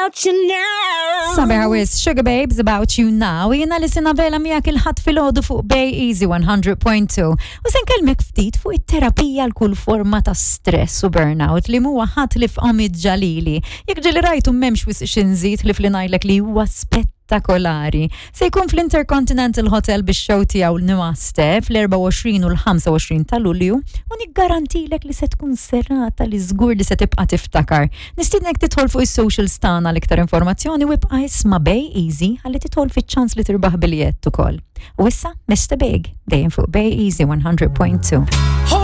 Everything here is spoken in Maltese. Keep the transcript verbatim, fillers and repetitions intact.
About you now. Sabiħa wisq, Sugababes, About You Now. Jiena Alison Vela miegħek il-Ħadd filgħodu fuq Bay Easy one hundred point two. U se nkellmek ftit fuq it-terapija għal kull forma ta' stress u burnout li mhuwa ħadd ħlief Omid Jalili. Jekk ġieli rajtu, m'hemmx wisq x'inżid ħlief li ngħidlek li huwa spettakolari. Se jkun fl-Intercontinental Hotel bix-show tiegħu l-Namaste fl-erbgħa u għoxrin u l-ħamsa u għoxrin ta' Lulju u niggarantilek li se tkun serata li żgur li se tibqa' tiftakar. Nistiednek tidħol fuq is-socials tagħna l-iktar informazzjoni u ibqa' isma' Bay Easy ħalli tidħol fiċ-ċans li tirbaħ biljett ukoll. U issa Mister Big dejjem fuq Bay Easy one hundred point two. Hold